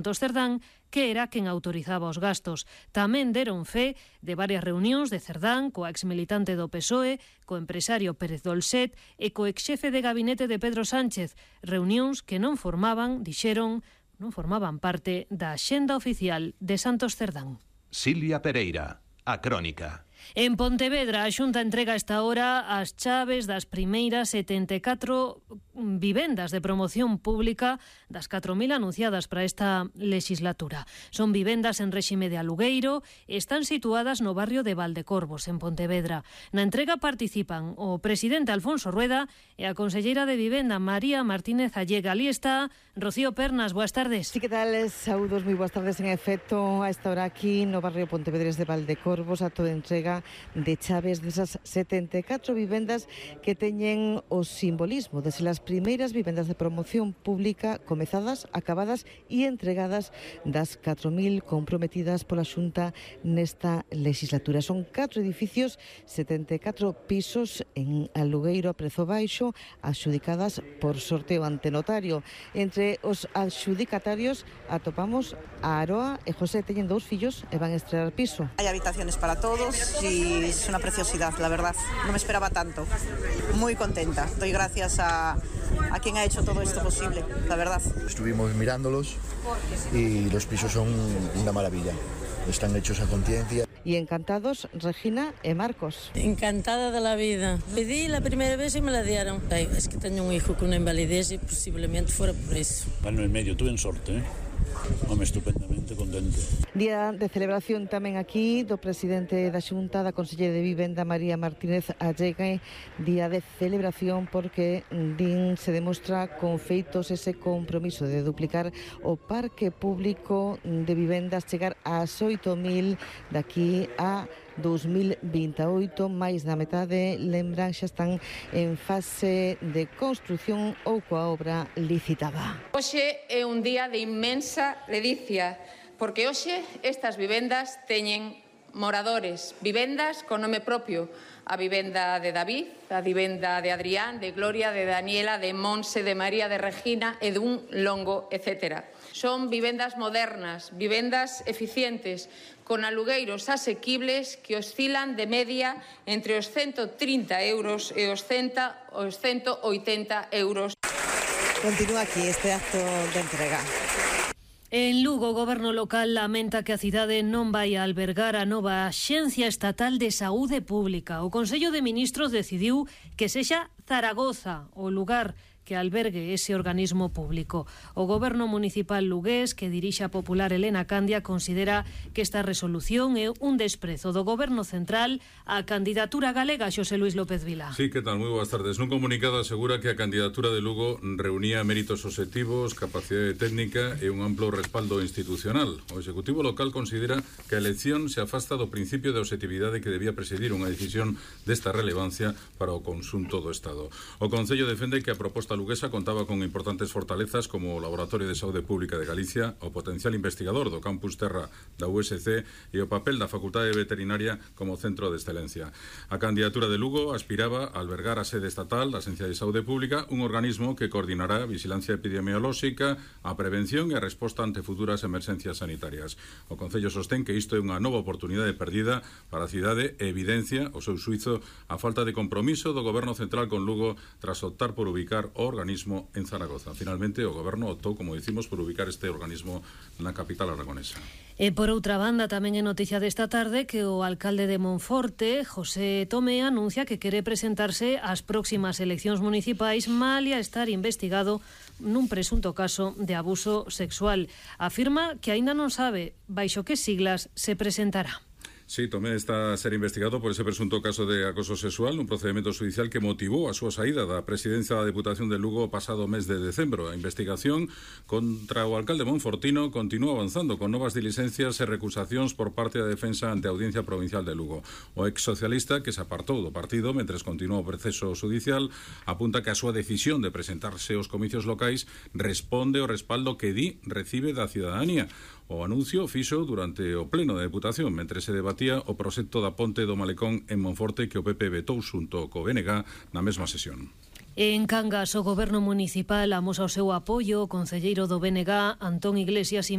Cerdán, que era quen autorizaba os gastos. Tamén deron fe de varias reunións de Cerdán coa exmilitante do PSOE, co empresario Pérez Dolcet e co exxefe de gabinete de Pedro Sánchez, reunións que non formaban parte da axenda oficial de Santos Cerdán. Silvia Pereira, A Crónica. En Pontevedra, a Xunta entrega a esta hora as chaves das primeiras 74 vivendas de promoción pública das 4.000 anunciadas para esta legislatura. Son vivendas en réxime de alugueiro e están situadas no barrio de Valdecorvos, en Pontevedra. Na entrega participan o presidente Alfonso Rueda e a conselleira de Vivenda María Martínez Allega. Ali está Rocío Pernas, boas tardes. Sí, que tal? Saúdos, moi boas tardes. En efecto, a esta hora aquí no barrio Pontevedres de Valdecorvos, a toda entrega de chaves desas 74 vivendas que teñen o simbolismo de ser as primeiras vivendas de promoción pública comezadas, acabadas e entregadas das 4.000 comprometidas pola Xunta nesta legislatura. Son 4 edificios, 74 pisos en alugueiro a prezo baixo, adxudicadas por sorteo ante notario. Entre os adxudicatarios atopamos a Aroa e José. Teñen 2 fillos e van estrear piso. Hay habitaciones para todos y es una preciosidad, la verdad. No me esperaba tanto. Muy contenta. Doy gracias a quien ha hecho todo esto posible, la verdad. Estuvimos mirándolos y los pisos son una maravilla. Están hechos a conciencia. Y encantados, Regina e Marcos. Encantada de la vida. Pedí la primera vez y me la dieron. Ay, es que tengo un hijo con una invalidez y posiblemente fuera por eso. Bueno, en medio, tuve sorte, ¿eh? Home, estupendamente contento. Día de celebración tamén aquí do presidente da Xunta, da conselleira de Vivenda María Martínez Allega. Día de celebración porque din se demostra con feitos ese compromiso de duplicar o parque público de vivendas, chegar ás 8.000 daqui a 2028, máis da metade, lembran, xa están en fase de construción ou coa obra licitada. Hoxe é un día de inmensa ledicia, porque hoxe estas vivendas teñen moradores, vivendas con nome propio, a vivenda de David, a vivenda de Adrián, de Gloria, de Daniela, de Monse, de María, de Regina e dun longo, etc. Son vivendas modernas, vivendas eficientes, con alugueiros asequibles que oscilan de media entre os 130 euros e os 180 euros. Continúa aquí este acto de entrega. En Lugo, o goberno local lamenta que a cidade non vai a albergar a nova Axencia Estatal de Saúde Pública. O Consello de Ministros decidiu que sexa Zaragoza o lugar que albergue ese organismo público. O goberno municipal lugués, que dirixe a popular Elena Candia, considera que esta resolución é un desprezo do goberno central á candidatura galega. Xosé Luis López Vila. Sí, que tal? Moi boas tardes. Nun comunicado asegura que a candidatura de Lugo reunía méritos obxectivos, capacidade técnica e un amplo respaldo institucional. O Executivo local considera que a elección se afasta do principio de obxectividade que debía presidir unha decisión desta relevancia para o conxunto do Estado. O Concello defende que a proposta luguesa contaba con importantes fortalezas como o Laboratorio de Saúde Pública de Galicia, o potencial investigador do Campus Terra da USC e o papel da Facultade Veterinaria como centro de excelencia. A candidatura de Lugo aspiraba a albergar a sede estatal da Axencia de Saúde Pública, un organismo que coordinará a vigilancia epidemiolóxica, a prevención e a resposta ante futuras emerxencias sanitarias. O Concello sostén que isto é unha nova oportunidade perdida para a cidade e evidencia o seu suizo a falta de compromiso do Goberno Central con Lugo tras optar por ubicar o organismo en Zaragoza. Finalmente, o goberno optou, como dicimos, por ubicar este organismo na capital aragonesa. E por outra banda, tamén é noticia desta tarde que o alcalde de Monforte, José Tomé, anuncia que quere presentarse ás próximas eleccións municipais malia estar investigado nun presunto caso de abuso sexual. Afirma que aínda non sabe baixo que siglas se presentará. Sí, Tomé está a ser investigado por ese presunto caso de acoso sexual, un procedimento judicial que motivou a súa saída da presidencia da Deputación de Lugo o pasado mes de decembro. A investigación contra o alcalde monfortino continúa avanzando con novas diligencias e recusacións por parte da defensa ante a Audiencia Provincial de Lugo. O ex socialista, que se apartou do partido mentres continúa o proceso judicial, apunta que a súa decisión de presentarse aos comicios locais responde ao respaldo que recibe da cidadanía. O anuncio fixo durante o pleno da Deputación, mentre se debatía o proxecto da ponte do Malecón en Monforte que o PP vetou xunto co BNG na mesma sesión. En Cangas, o Goberno Municipal amosa o seu apoio. O concelleiro do BNG, Antón Iglesias,